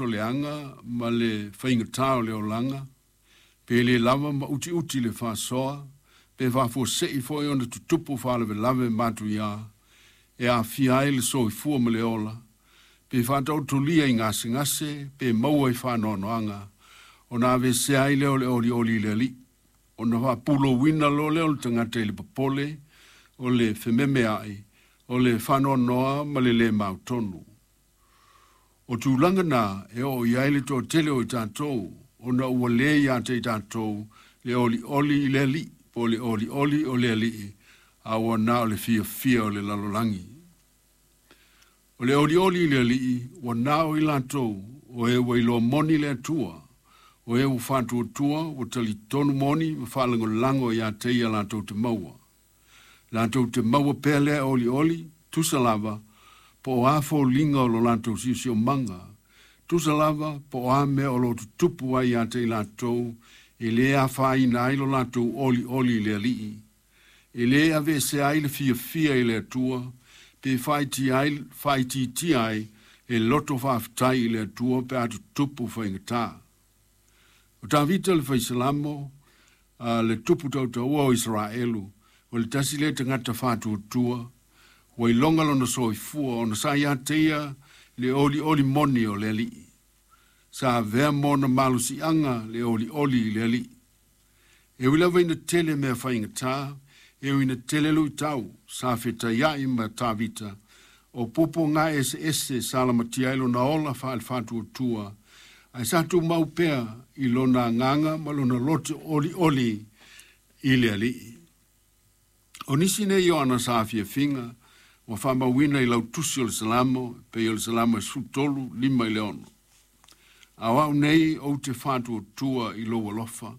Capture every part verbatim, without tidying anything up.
Leaga ma le faigata o le olaga, pe le lava ma utiuti le faasoa, pe faafuasei foi ona tutupu faalavelave matuia e aafia ai le soifua ma le ola, pe faataotolia i gasegase pe maua i faanoanoaga, ona aveesea ai lea o le olioli i le Alii, ona faapulouina loa lea o le tagata i le popole, o le fememeai, o le faanoanoa ma le lē mautonu. O tulaga na e oo i ai le toatele o i tatou, ona ua lē ia te i tatou le olioli i le Alii, po o le olioli o le Alii, a ua na o le fiafia o le lalolagi. O le olioli i le Alii, ua na o i latou, o e ua iloa moni le Atua, o e ua faatuatua, ua talitonu moni ma faalagolago ia te ia latou te maua. Latou te maua pea lea olioli, tusa lava, po o a foliga o lo latou siosiomaga, tusa lava po o a mea o lo tutupu ai ia te i latou, e lē afaina ai lo latou olioli i le Alii. E lē aveesea ai le fiafia i le Atua, pe faaitiitia ai le loto faafetai i le Atua pe a tutupu faigata. O Tavita le faisalamo, a le tupu tautaua o Isaraelu, o le tasi lea tagata faatuatua, ua iloga lona soifua ona sa ia te ia le olioli moni o le Alii. Sa avea ma ona malosiaga le olioli i le Alii. E ui lava ina tele mea faigata, e ui ina tele luitau, sa fetaiai ma Tavita, o puapuaga eseese sa lamatia ai lona ola faale-faatuatua, ae sa tumau pea i lona agaga ma lona loto olioli i le Alii. O nisi nei o ana saafiafiga ua faamauina i lau tusi o le Salamo, pei o le Salamo e sefulutolu, lima i le ono. A o au nei ou te faatuatua i lou alofa,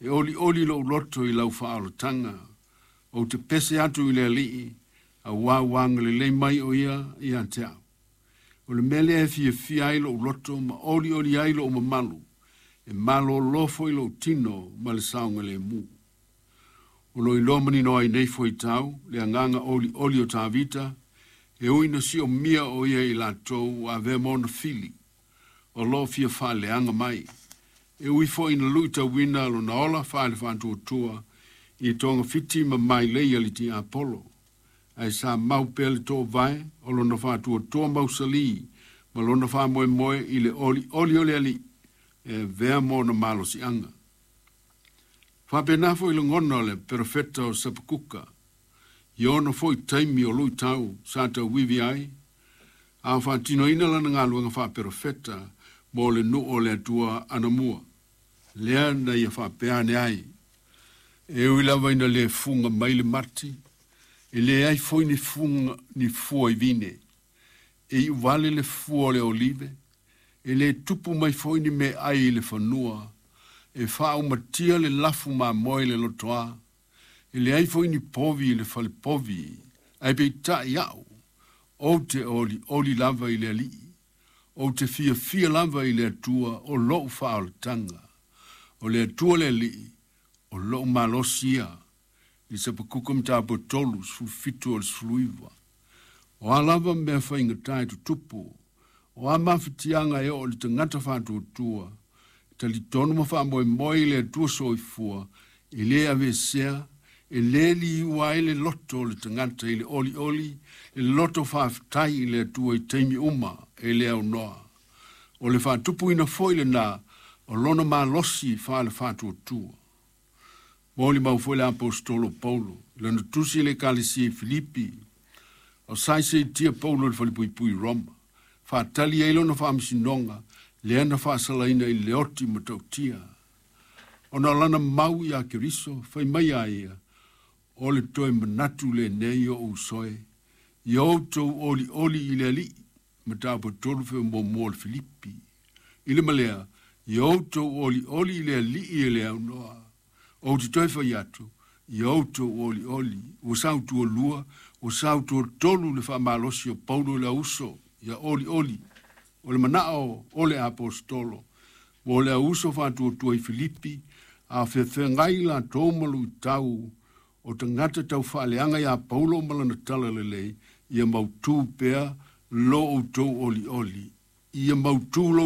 e olioli lou loto i lau faaolataga, ou te pese atu i le Alii, auā ua agalelei mai o ia ia te au. O le mea lea e fiafia ai lou loto ma olioli ai lou mamalu, e malōlō foi lou tino ma le saogalemu. O lo o iloa manino ai nei fuaitau le agaga olioli o Tavita, e ui ina siomia o ia i latou ua avea ma ona fili, o lo o fia faaleaga mai. E ui foi ina luitauina lona ola faale-faatuatua i togafiti ma mailei a le tiapolo, ae sa mau pea le toovae o lona faatuatua mausalī ma lona faamoemoe i le olioli o le Alii e avea ma ona malosiaga. Faapena foi lagona o le perofeta o Sapakuka, i ona foi taimi o luitau sa tauivi ai, a o faatinoina lana galuega faaperofeta mo le nuu o le Atua anamua. Lea na ia faapea ane ai, e ui lava ina lē fuga mai le mati, e leai foi ni fuga ni fua i vine, e iuvale le fua o le olive, e lē tupu mai foi ni meaai i le fanua, e faaumatia le lafu mamoe i le lotoā, e leai foi ni povi i le falepovi, ae peitai au, ou te olioli lava i le Alii, ou te fiafia lava i le Atua o lou faaolataga. O le Atua le Alii, o lou malosi ia, i Sapakuka mataupu e tolu, sefulufitu o le sefuluiva. O a lava mea faigata e tutupu, o a mafatiaga e oo i le tagata faatuatua, e talitonu ma faamoemoe i le Atua soifua, e lē aveesea, e lē liua ai le loto o le tagata i le olioli, le loto faafetai i le Atua i taimi uma e le aunoa. O le faatupuina foi lenā o lona malosi faale-faatuatua. Molimau foi le aposetolo Paulo, i lana tusi i le Ekalesia i Filipi, o sa seitia Paulo i le falepuipui i Roma, faatali ai lona faamasinoga, lea na faasalaina i le oti matautia. Ona o lana mau iā Keriso, fai mai a ia, o le toe manatu lenei o ou uso e, ia outou olioli i le Alii, mataupu e tolu feo muamua o le Filipi. I le ma lea, ia outou olioli i le Alii e le aunoa. Ou te toe fai atu, ia outou olioli, ua sautualua, ua sautuatolu le faamalosi o Paulo i le auso, ia olioli. O le manao o le aposetolo, mo le auso faatuatua i Filipi, a feafeagai latou ma luitau o tagata taufaaleaga iā Paulo ma lana talalelei, ia mautū pea lo outou olioli Ia mautū lou